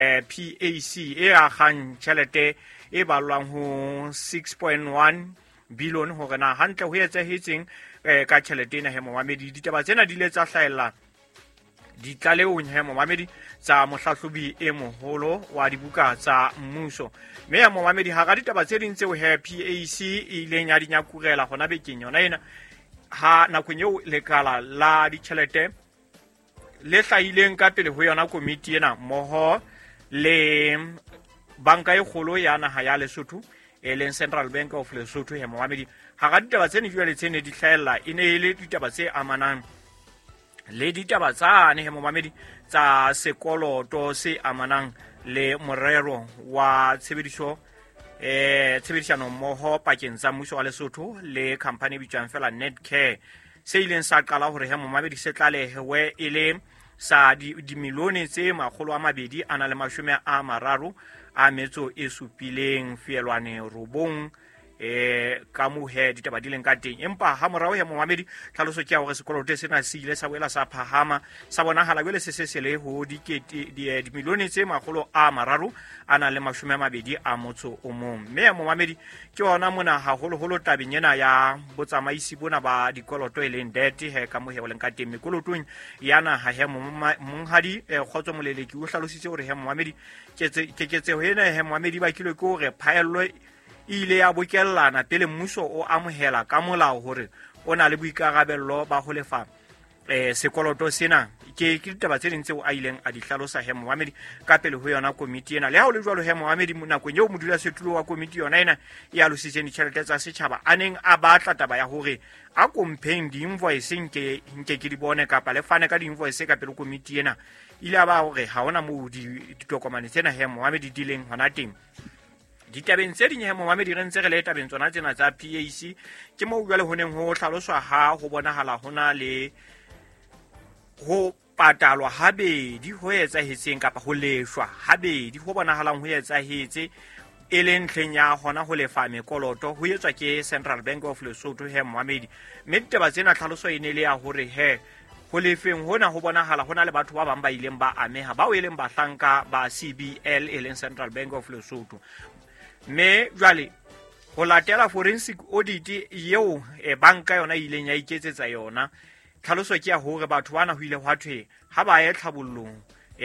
PAC e akgang tjhelete e ballwang ho 6.1 billion hore na hantle ho etsahetseng ka tjhelete ena he momamedi. Ditaba tsena di ile tsa hlahella ditlalehong he momamedi tsa mohlahlobi e moholo wa dibuka tsa mmuso. Mme ya momamedi, hara ditaba tse ding tseo he PAC e ileng ya di nyakurela hona bekeng yona ena, ha nakong eo lekala la ditjhelete le hlahileng ka pele ho yona komiti ena mmoho le banka e kgolo ya naha ya Lesotho e leng Central Bank of Lesotho he momamedi, hara ditaba tse ne jwale tse ne di hlahella e ne e le ditaba tse amanang le ditaba tsane he momamedi tsa sekoloto se amanang le morero wa tshebediso tshebedisano mmoho pakeng tsa mmuso wa Lesotho le company e bitswang fela Netcare, se ileng sa qala hore he momamedi se tlalehewe e le sa dimilione tse 237,9 ka moo he ditaba di leng ka teng. Empa ha morao he momamedi, tlhaloso ke ya hore sekoloto sena se ile sa boela sa phahama, sa bonahala jwale se se se le ho dimilione tse 321. Mme ya momamedi ke ona mona haholoholo tabeng ena ya botsamaisi bona ba dikoloto e leng debt he ka moo he o leng ka teng mekolotong ya naha he monghadi Kgotso Moleleki o hlalositse hore he momamedi keketseho ena he momamedi ba bakilwe ke hore phaello e ile ya bokellana pele mmuso o amohela ka molao hore o na le boikarabello ba ho lefa sekoloto sena. Ke ditaba tse ding tseo a ileng a di hlalosa he momamedi ka pele ho yona komiti ena. Le ha ho le jwalo he momamedi, nakong eo modulasetulo wa komiti yona ena e alositseng ditjhelete tsa setjhaba a neng a batla taba ya hore a kompheng di-invoice nke ke di bone kapa le fane ka di-invoice ka pele komiti ena, ile a ba hore ha hona moo ditokomane tsena he momamedi di leng hona teng. Ditabeng tse ding he momamedi re ntse re le tabeng tsona tsena tsa PAC, ke moo jwale ho neng ho hlaloswa ha ho bonahala ho na le ho patalwa habedi ho etsahetseng kapa ho leshwa habedi ho bonahalang ho etsahetse e leng ntlheng ya hona ho lefa mekoloto ho etswa ke Central Bank of Lesotho he momamedi. Mme ditaba tsena tlhaloso e ne le ya hore he ho lefeng hona ho bonahala ho na le batho ba bang ba ileng ba ameha bao e leng bahlanka ba CBL e leng Central Bank of Lesotho. Mme jwale ho latela forensic audit eo banka yona e ileng ya iketsetsa yona, tlhaloso ke ya hore batho bana ho ile hwa thwe ha ba ye tlhabollong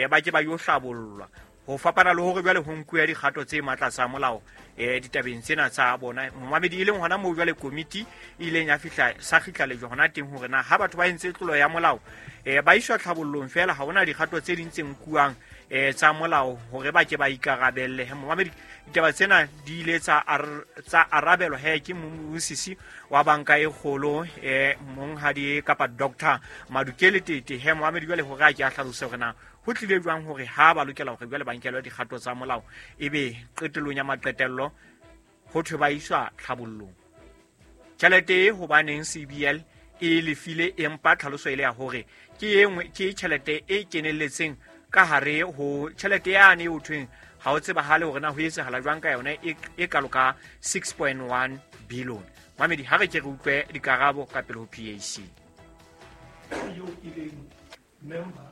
ba ke ba yo hlabollwa, ho fapana le hore jwale ho nkuwe dikgato tse matla tsa molao ditabeng tsena tsa bona momamedi, e leng hona moo jwale komiti e ileng ya fihla sa kgitla lejwe hona teng hore na ha batho ba entse tlolo ya molao ba iswa tlhabollong fela, ha hona dikgato tse ding tse nkuwang tsa molao hore ba ke ba ikarabelle. He momamedi, ditaba tsena di ile tsa arabelwa he ke mmusisi wa banka e kgolo monghadi kapa Dr. Madukele Tete he momamedi jwale hore a ke a hlalose hore na ho tlile jwang hore ha ba lokela hore jwale ba nkelwe dikgato tsa molao ebe qetellong ya maqetello ho thwe ba iswa tlhabollong. Tjhelete e hobaneng CBL e lefile, empa tlhaloso e le ya hore ke e nngwe ke tjhelete e kenelletseng ka hare ho tjhelete yane e ho thweng ha ho tsebahale hore na ho etsahala jwang ka yona e kalo ka 6.1 billion. Mamedi, ha re ke re utlwe dikarabo ka pele ho PAC. Yo e leng member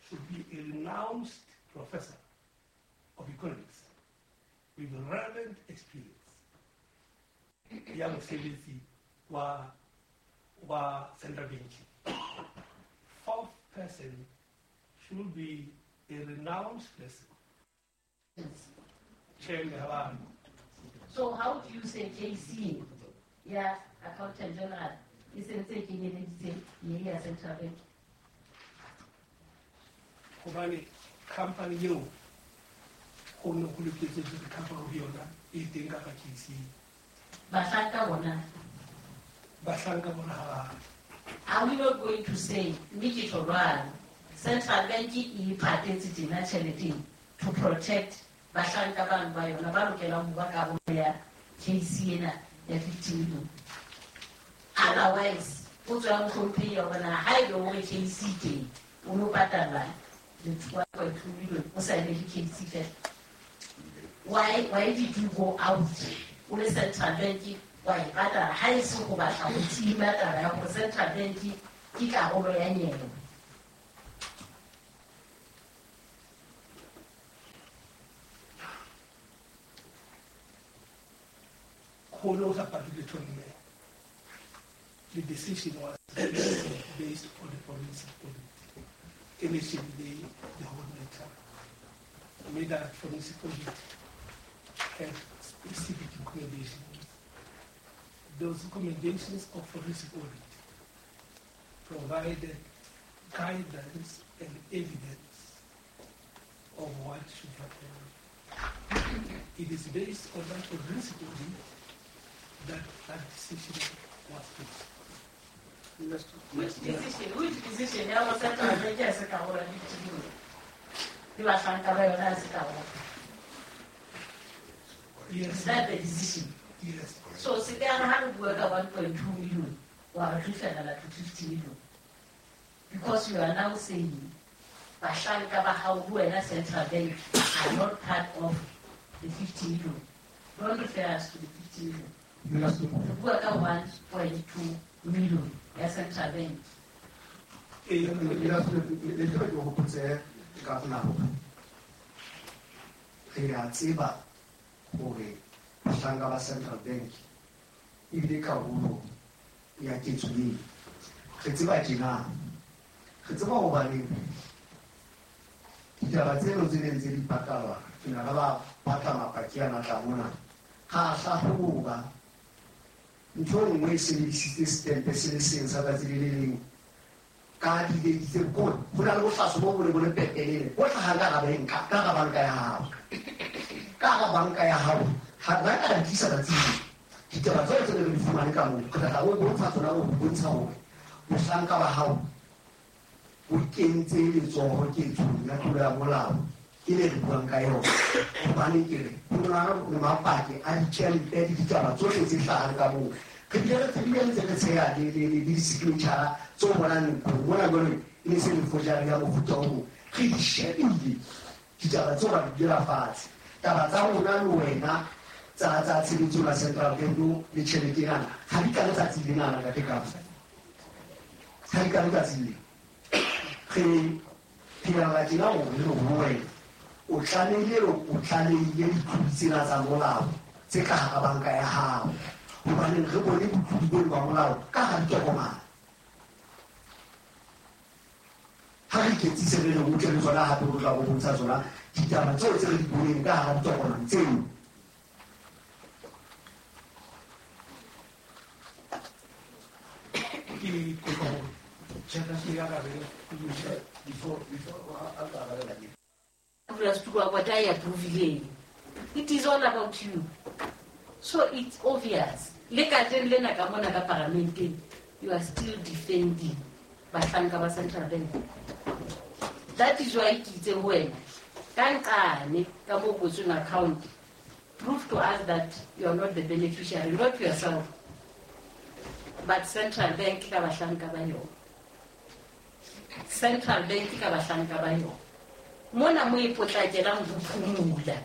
should be a renounced professor of economics with relevant experience ya mosebetsi wa central banking. Fourth person should be a renounced person. So how do you say KC, yeah, Accountant General, is in taking it Central Bank? Hobane company eo ho ne ho loketse hore company ho yona e teng kapa KC. Bahlanka bona. Bahlanka bona ha. Are we not going to say mme ke tjho jwalo, Central Bank e iphatetse tjena tjhelete to protect bahlanka bano ba yona ba lokelang ho ba karolo ya KC ena ya 50 million. Otherwise, potso ya mohlomphehi ya hore na ha ebe hore KC teng o no patala le 2.2 million o sa emele KC fela. Why did you go out o le Central Bank wa e patala ha e se ho batla ho tima taba ya hore Central Bank ke karolo ya nyewe? Ho no sa patile mme. The decision was based on the forensic audit. E ne shebile the whole matter. Mme that forensic audit had specific recommendations. Those recommendations of forensic audit provided guidance and evidence of what should happen. It is based on that forensic audit that that decision was made. Which decision? Which decision? Ya go Central Bank ya se ka gola 50 million. Le bahlanka ba yona ya se ka gola. Yes. Is that the decision? Yes. So se ka re ha re bua ka 1.2 million, wa re referela to 50 million. Because you are now saying bahlanka ba hao ho wena Central Bank are not part of the 50 million. Don't refer us to the 50 million. Re bua ka 1.2 million ya Central Bank. Le ke go hopotse ka gona hore re a tseba hore bahlanka ba Central Bank ebile karolo ya ketso eo. Re tseba tjena, re tseba hobane ditaba tseno tse neng tse di patalwa ke na ba batla mapaki ana tla mona. Ga hlahloba ntho e nngwe e sebedisitse setempe se le seng sa tsatsi le le leng ka didate tse kgolo. Ho na le bohlaso bo bo le pepenene bo hlahang ka hara banka ya hao. Ka hara banka ya hao ha ba ka di tlisa tsatsing leo. Ditaba tseo tse re di fumane ka moo, re tla o bontsha tsona, o bontsha hore mohlanka wa hao o kentse letsoho ketsong ya tlolo ya molao e le re buang ka yona. Hobane ke re ho na le mapaki a ditjhelete le ditaba tsohle tse hlahang ka moo. Re bile re tsebile ntse re tsheha le di-signature tse o bonang mona jwale e ne se le forgery ya mofuta o mong. Re di shebile ditaba tseo ra di dira fatshe. Taba tsa rona le wena tsa tshebetso la Central Bank le tjhelete ena ha di ka letsatsi lena ntate Kapo. Ha di ka letsatsi lena. Re phela tjena hore le ho wena o tlamehile o tlalehile ditlodi tsena tsa molao tse ka hara banka ya hao. Hobane re bone botlodi bono ba molao ka hara ditokomane. Ha re iketsise re re utlwe le tsona hape re tla go bontsha tsona ditaba tseo tse re di boneng ka hara ditokomane tseo. Ke kopa hore ke arabe before a ka arabela ke. What I approve, it is all about you. So it's obvious. Le kajeno lena ka mona ka paramenteng, you are still defending bahlanka ba Central Bank. That is why ke itse ho wena ka nqane ka mo kwetsweng account, prove to us that you are not the beneficiary, not yourself, but Central Bank ka bahlanka ba yona. Central Bank ka bahlanka ba yona. Mona mo e potlakelang ho phumula.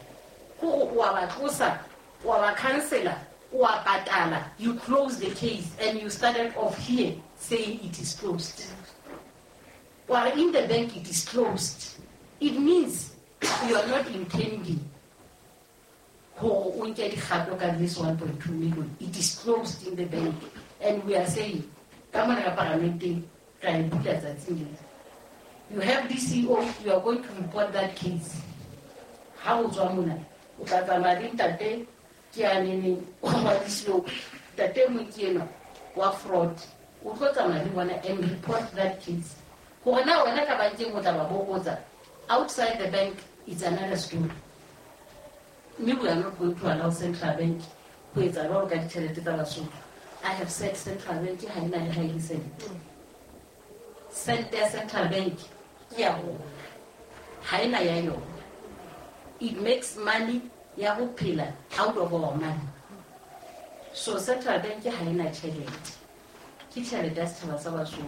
Hore o a ba tlosa, o a ba cancela, o a patala. You close the case and you started off here saying it is closed. While in the bank it is closed. It means you are not intending hore o nke dikgato ka this 1.2 million. It is closed in the bank. And we are saying, ka mona ka paramenteng, ra e bula tsatsing lena. You have the CEO, you are going to report that case. Ha o tswa mona, o tla tsamaya le ntate ke a neneng wa DCO, ntate mong ke enwa wa fraud. O tlo tsamaya le bona and report that case. Hore na wena ka bankeng o tla ba bokotsa, outside the bank it's another story. Mme we are not going to allow Central Bank ho etsa jwalo ka ditjhelete tsa Basotho. I have said Central Bank ha ena le ha e le sente. Sente ya Central Bank ke ya rona, ha ena ya yona. It makes money ya ho phela out of our money. So Central Bank ha ena tjhelete, ke tjhelete ya setjhaba sa Basotho.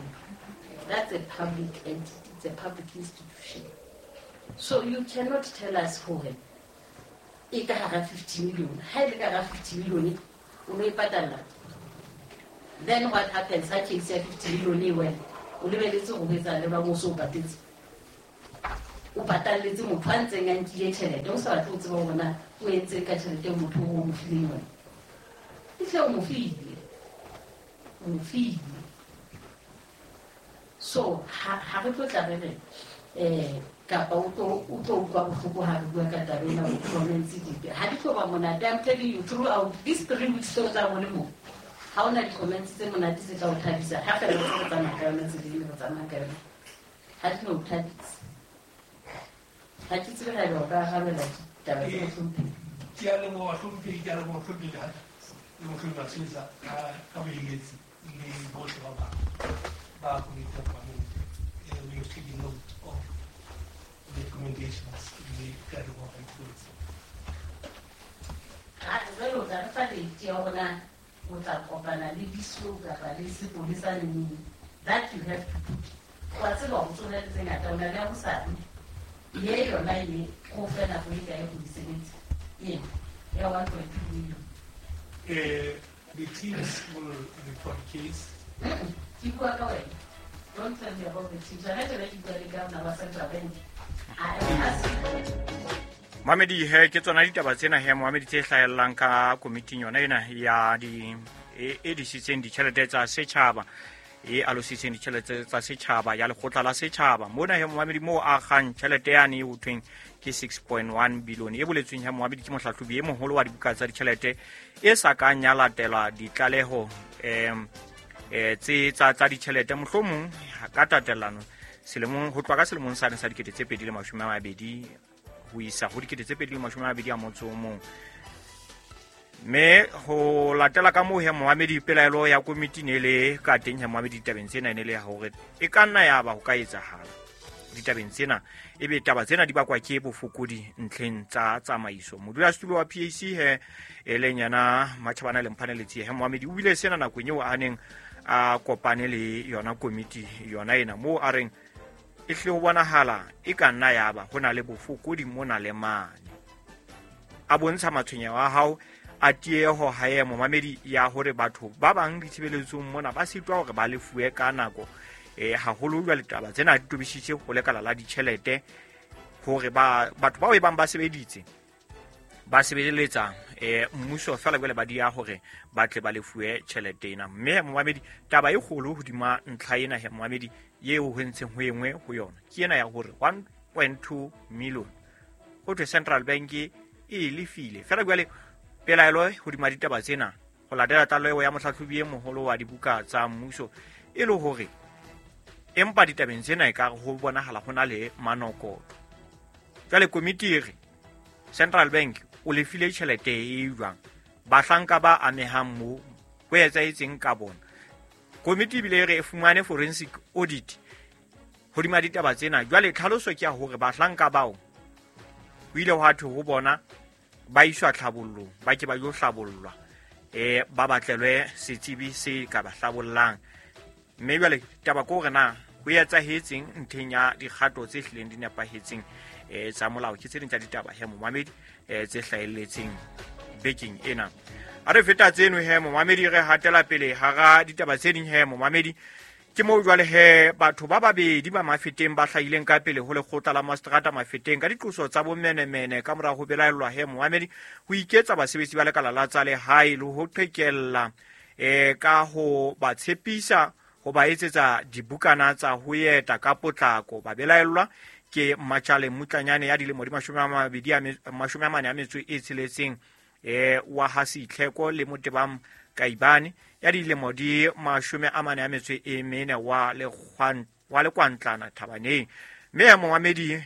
That's a public entity, it's a public institution. So you cannot tell us hore e ka hara 50 million. Ha e le ka hara 50 million o no e patalla. Then what happens ha case ya 50 million e wena o lebeletse ho etsa le ba mmuso o patetse. O patalletse motho a ntseng a nkile tjhelete, o sa batle ho tseba hore na o entseng ka tjhelete eo motho o mo fileng yona. Ehlile o mo file, o mo file. So ha re tlo tla re re kapa o tlo utlwa bohloko ha re bua ka taba ena, o comments dipe ha di tlo ba monate. I'm telling you, throughout these 3 weeks tseo tsa bone mo, ha ona di-comments tse monate tse tla o thabisa. Ha fela re tsamaya ka yona tseleng, re tsamaya ka yona, ha di no o thabisa. Ha ke tsebe ha eba o ka arabela ditaba tse mohlomphehi. Ke a leboha hlomphehi, ke a leboha hlomphehi le mohlomphehi Masesa ka boeletsi le bohle ba bang ba komiti ya palamente. We have taken note of the recommendations le ke a leboha ipotse. Jwale o tla re fa date ya hore o tla kopana le DISO kapa le sepolesa le neng. That you have to put. Wa tseba hore o tsona le tse ngata, o na le ya hosane. Ye yona e go fe nako e kae go di sebetsa? Ena ya 1.2 million. The teams will report case. Ke bua ka wena. Don't tell me about the teams. Hona jwale ke bua le governor wa Central Bank. I am asking. Mamedi he, ke tsona ditaba tsena he Mohamedi tse hlahellang ka komiting yona ena ya di e disitseng ditjhelete tsa setjhaba, e alositseng ditjhelete tsa setjhaba ya lekgotla la setjhaba. Mona he Mohamedi moo a kgang tjhelete yane e ho thweng ke 6.1 billion e boletsweng he Mohamedi ke mohlahlobi e moholo wa dibuka tsa ditjhelete e sa kang ya latela ditlaleho tse tsa ditjhelete mohlomong ka tatellano selemong ho tloha ka selemong sane sa 2020 ho isa ho 2021. Mme ho latela ka moo he Mohamedi pelaelo ya komiti ne le ka teng he Mohamedi ditabeng tsena e ne le ya hore e ka nna ya ba ho ka etsahala ditabeng tsena, ebe taba tsena di bakwa ke bofokodi ntlheng tsa tsamaiso. Modulasetulo wa PAC he e leng yena Matjhabana le Mphaneletsi he Mohamedi o bile sena nakong eo a neng a kopane le yona komiti yona ena, moo a reng e hle ho bonahala e ka nna ya ba ho na le bofokodi mona le mane. A bontsha matshwenyeho a hao a tieho hae Momamedi ya hore batho ba bang ditshebeletsong mona ba sitwa hore ba lefuwe ka nako, haholo jwale taba tsena di tobisitse ho lekala la ditjhelete hore batho bao e bang ba sebeditse ba sebeletsa mmuso fela jwale ba dia hore ba tle ba lefuwe tjhelete ena. Mme Momamedi taba e kgolo hodima ntlha ena he Momamedi eo ho ntseng ho engwe ho yona ke ena ya hore 1.2 million ho thwe Central Bank e lefile fela jwale pelaelo hodima ditaba tsena ho latela tlaleho ya mohlahlobi e moholo wa dibuka tsa mmuso e le hore empa ditabeng tsena e ka ho bonahala ho na le manokoto. Jwale komiti e re Central Bank o lefile tjhelete e jwang, bahlanka ba amehang moo ho etsahetseng ka bona. Komiti ebile e re e fumane forensic audit hodima ditaba tsena. Jwale tlhaloso ke ya hore bahlanka bao ho ile hwa thwe ho bona ba iswa tlhabollong, ba ke ba yo hlabollwa, ba batlelwe setsebi se ka ba hlabollang. Mme jwale taba ke hore na ho etsahetseng ntlheng ya dikgato tse hlileng di nepahetseng tsa molao. Ke tse ding tsa ditaba he Momamedi tse hlahelletseng bekeng ena. A re feta tseno he Momamedi, re hatela pele hara ditaba tse ding he Momamedi. Ke moo jwale he batho ba babedi ba Mafeteng ba hlahileng ka pele ho lekgotla la Mastrata Mafeteng ka diqoso tsa bomenemene ka mora ho belaellwa he Momamedi ho iketsa basebetsi ba lekala la tsa lehae le ho qhekella ka ho ba tshepisa ho ba etsetsa dibukana tsa ho eta ka potlako. Ba belaellwa ke Matjale Mutlanyane ya dilemo di 46 wa ha Setlheko le Motebang Kaibane ya dilemo di 44 wa Lekwantlana Thabaneng. Mme Momamedi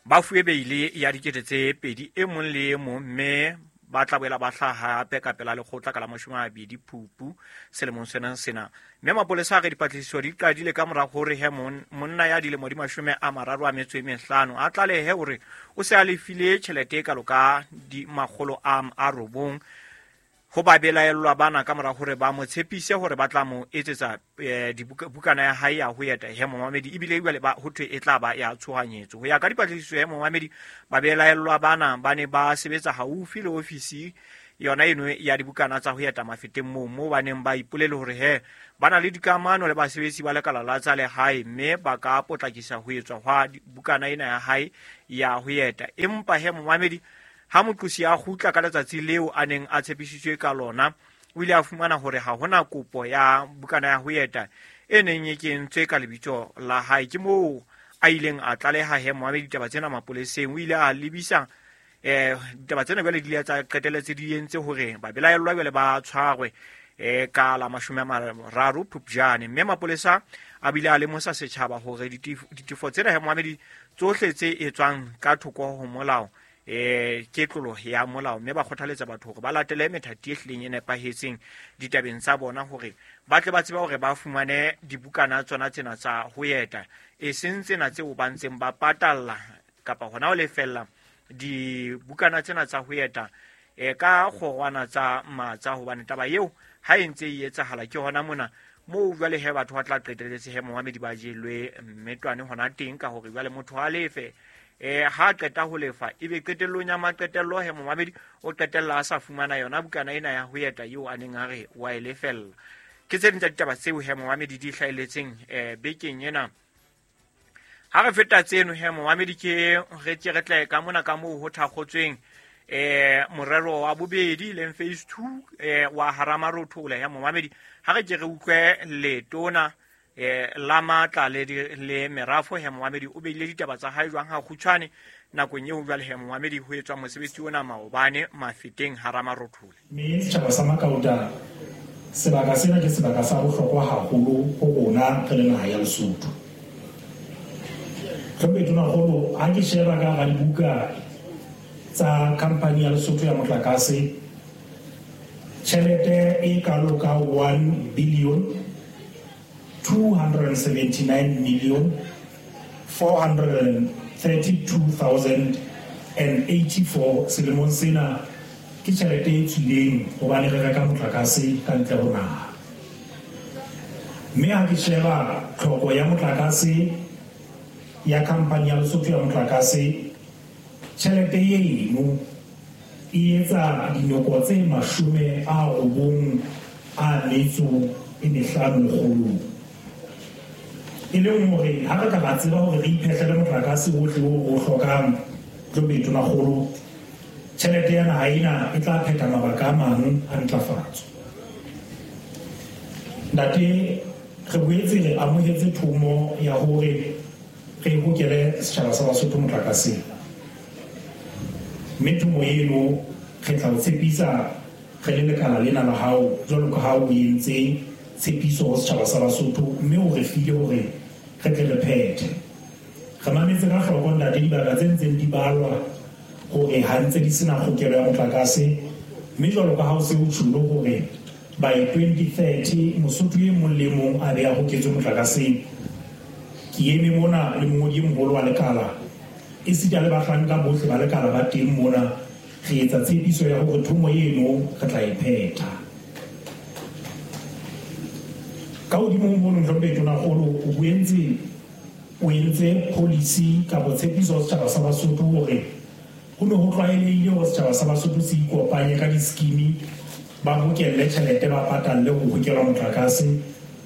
ba fuwe beile ya 2,000 e mong le e mong, mme ba tla boela ba hlaha hape ka pela lekgotla ka la 20 Phupu selemong sena sena. Mme mapolesa a re dipatlisiso di qadile ka mora hore he monna ya dilemo di 35 a tlalehe hore o se a lefile tjhelete e kalo ka 900 ho ba belaellwa bana ka mora hore ba mo tshepise hore ba tla mo etsetsa bukana ya hae ya ho eta he Momamedi, ebile jwale ba ho thwe e tla ba ya tshohanyetso. Ho ya ka dipatlisiso he Momamedi, ba belaellwa bana ba ne ba sebetsa haufi le ofisi yona eno ya dibukana tsa ho eta Mafeteng moo ba neng ba ipolele hore he ba na le dikamano le basebetsi ba lekala la tsa lehae, mme ba ka potlakisa ho etswa hwa bukana ena ya hae ya ho eta. Empa he Momamedi, Ha moqosi a kgutla ka letsatsi leo a neng a tshepisitswe ka lona, o ile a fumana hore ha hona kopo ya bukana ya ho eta e neng e kentswe ka lebitso la hae. Ke moo a ileng a tlaleha he momamedi ditaba tsena mapoleseng. O ile a lebisa ditaba tsena jwale di ile tsa qetelletse di entse hore babelaellwa jwale ba tshwarwe ka la 30 Phupjane. Mme mapolesa a bile a lemosa setjhaba hore ditefo tsena he momamedi tsohle tse etswang ka thoko ho molao ke tlolo ya molao, mme ba kgothaletsa batho hore ba latele methati e hlileng e nepahetseng ditabeng tsa bona hore ba tle ba tsebe hore ba fumane dibukana tsona tsena tsa ho eta, e seng tsena tseo ba ntseng ba patalla kapa hona ho lefella dibukana tsena tsa ho eta ka kgorwana tsa matsa, hobane taba eo ha e ntse e etsahala ke hona mona moo jwale he batho ba tla qetelletse he momamedi ba jelwe mmetwane hona teng, ka hore jwale motho a lefe ha qeta ho lefa ebe qetellong ya maqetello he momamedi o qetella a sa fumana yona bukana ena ya ho eta eo a neng a re wa e lefella. Ke tse ding tsa ditaba tseo he momamedi di hlahelletseng bekeng ena. Ha re feta tseno he momamedi, ke re ke re tle ka mona ka moo ho thakgotsweng morero wa bobedi leng phase 2 wa Haramarothola he momamedi. Ha re ke re utlwe letona la matla le merafo he momamedi o beile ditaba tsa hae jwang ha kgutshwane nakong eo jwale he momamedi ho etswa mosebetsi ona maobane Mafeteng Haramarothola. Mme setjhaba sa Makauta, sebaka sena ke sebaka sa bohlokwa haholo ho rona re le naha ya Lesotho. Hlomphehi Tonakgolo, ha ke sheba ka hara dibuka tsa khampani ya Lesotho ya motlakase, tjhelete e kalo ka 1 billion 279 million 432,084 selemong sena ke tjhelete e tswileng hobane re reka motlakase ka ntle ho naha. Mme ha ke sheba tlhoko ya motlakase ya khampani ya Lesotho ya motlakase, tjhelete eno e etsa dinoko tse 95 lekgolong. E leng hore ha re ka ra tseba hore re iphehlele motlakase ohle o hlokang, Hlomphehi Tonakgolo, tjhelete ya naha ena e tla phetha mabaka a mang a ntlafatso. Ntate, re boetse re amohetse thomo ya hore re hokele setjhaba sa Basotho motlakaseng. Mme thomo eno re tla o tshepisa re le lekala lena la hao jwalo ka ha o entse tshepiso ho setjhaba sa Basotho, mme o re file hore re tle re phethe. Re mametse ka hloko ntate dibaka tse ntseng di balwa hore ha ntse di sena kgokelo ya motlakase, mme jwalo ka ha o se o tjholo hore by 2030 Mosotho e mong le mong a be a hoketswe motlakaseng. Ke eme mona le mongodi e moholo wa lekala, esita le bahlanka bohle ba lekala ba teng mona, re etsa tshepiso ya hore thomo eno re tla e phetha. Ka hodimo ho mono, Hlomphehi Tonakgolo, o boentse o entse policy kapa tshepiso ho setjhaba sa Basotho hore ho ne ho tlwaelehile hore setjhaba sa Basotho se ikopanye ka di-scheme, ba bokelle tjhelete, ba patalle ho hokelwa motlakase,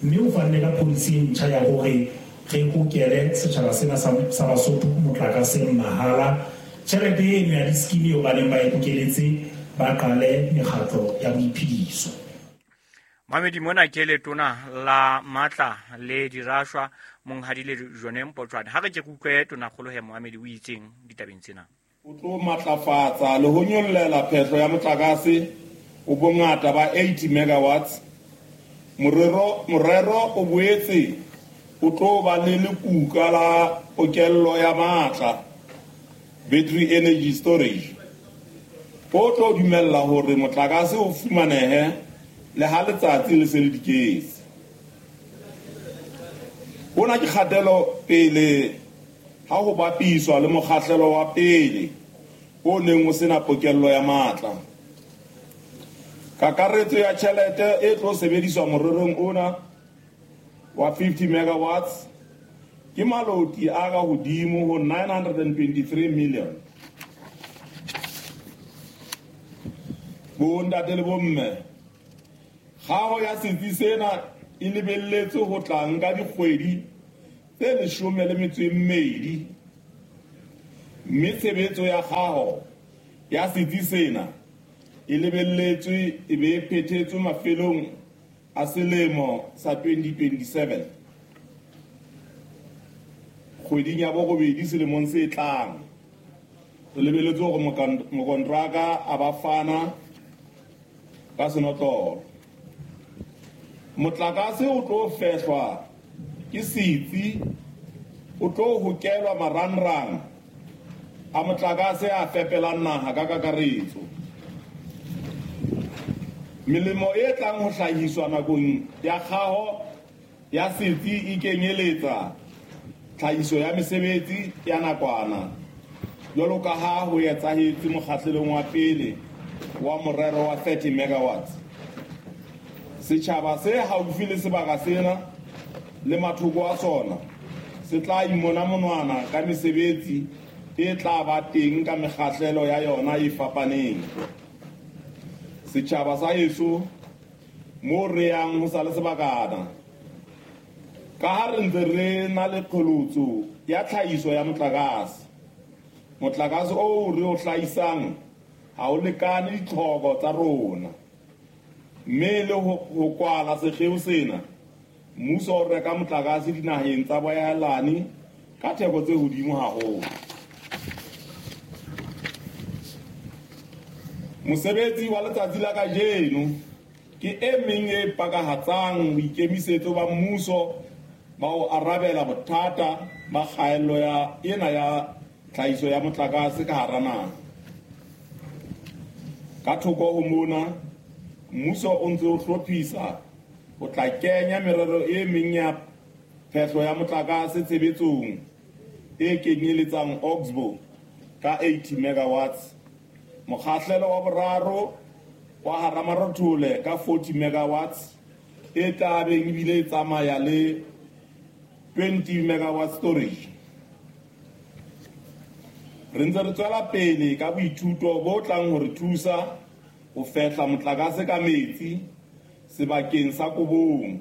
mme o fanne ka policy e ntjha ya hore re hokele setjhaba sena sa Basotho motlakaseng mahala. Tjhelete eno ya di-scheme eo ba neng ba e bokeletse, ba qale mekgatlo ya boiphediso. Mamedi, mona ke letona la matla le dirashwa monghadi le Jone Mpotjwane. Ha re ke utlwe Tonakgolo he momamedi o itseng ditabeng tsena. O tlo matlafatsa le ho nyollela phehlo ya motlakase o bongata ba 80 megawatts. Morero o boetse o tlo ba le lekuka la pokello ya matla, battery energy storage, o tlo dumella hore motlakase o fumanehe le ha letsatsi le se le diketse. Hona ke kgatelo pele ha ho bapiswa le mokgahlelo wa pele o neng o sena pokello ya matla. Kakaretso ya tjhelete e tlo sebediswa morerong ona wa 50 megawatts ke maloti a ka hodimo ho 923 million. Bo ntate le bomme, kgaho ya setsi sena e lebelletswe ho tla nka dikgwedi tse 12, mme tshebetso ya kgaho ya setsi sena e lebelletswe e be e phethetswe mafelong a selemo sa 2027. Kgweding ya borobedi selemong se tlang, re lebelletse hore mokontraka a ba fana ka senotlolo. Motlakase o tlo fehlwa ke setsi, o tlo hokelwa marangrang a motlakase a fepelang naha ka kakaretso. Melemo e tlang ho hlahiswa nakong ya kgaho ya setsi e kenyeletsa tlhahiso ya mesebetsi ya nakwana, jwalo ka ha ho etsahetse mokgahlelong wa pele wa morero wa 30 megawatts. Setjhaba se haufi le sebaka sena le mathoko a sona se tla imona monwana ka mesebetsi e tla ba teng ka mekgahlelo ya yona e fapaneng. Setjhaba sa heso mo re yang ho sa le sebakana, ka ha re ntse re na le qholotso ya tlhahiso ya motlakase. Motlakase oo re o hlahisang ha o lekane ditlhoko tsa rona, mme le ho kwala sekgeo sena, mmuso o reka motlakase dinaheng tsa boahelani ka theko tse hodimo haholo. Mosebetsi wa letsatsi la kajeno ke e meng e pakahatsang boikemisetso ba mmuso ba ho arabela bothata ba kgaello ya ena ya tlhahiso ya motlakase ka hara naha. Ka thoko ho mona, mmuso o ntse o hlophisa ho tla kenya merero e meng ya phehlo ya motlakase tshebetsong e kenyeletsang Oxbow ka 80 megawatts, mokgahlelo wa boraro wa Haramarothole ka 40 megawatts e tla beng ebile e tsamaya le 20 megawatt storage. Re ntse re tswela pele ka boithuto bo tlang ho re thusa ho fehla motlakase ka metsi sebakeng sa Kobong,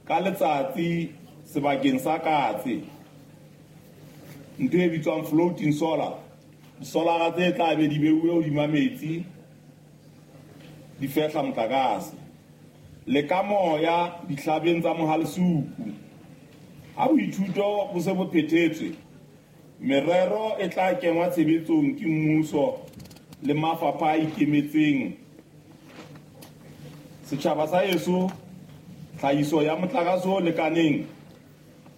ka letsatsi sebakeng sa Katse, ntho e bitswang floating solar. Disolara tse tla be di beuwe hodima metsi di fehla motlakase, le ka moya dihlabeng tsa Mohalesuku. Ha boithuto bo se bo phethetswe, merero e tla kengwa tshebetsong ke mmuso le mafapha a ikemetseng. Setjhaba sa heso, tlhahiso ya motlakase o lekaneng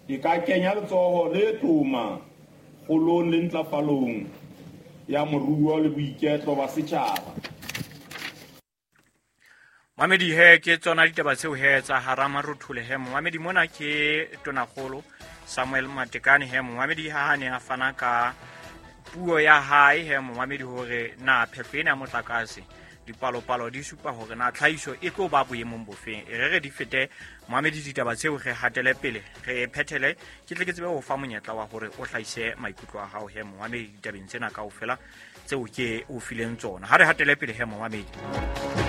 e ka kenya letsoho le toma kgolong le ntlafalong ya moruo le boiketlo ba setjhaba. Mamedi he ke tsona ditaba tseo he tsa hara Marothole he. Momamedi mona ke Tonakgolo Samuel Matekane he. Momamedi ha ne a fana ka puo ya hae he momamedi hore na phehlo ena ya motlakase dipalopalo di supa hore na tlhahiso e tlo ba boemong bofeng. E re re di fete momamedi ditaba tseo, re hatele pele re phethele, ke tle ke tsebe ho fa monyetla wa hore o hlahise maikutlo a hao he momamedi ditabeng tsena kaofela tseo ke o fileng tsona. Ha re hatele pele he momamedi.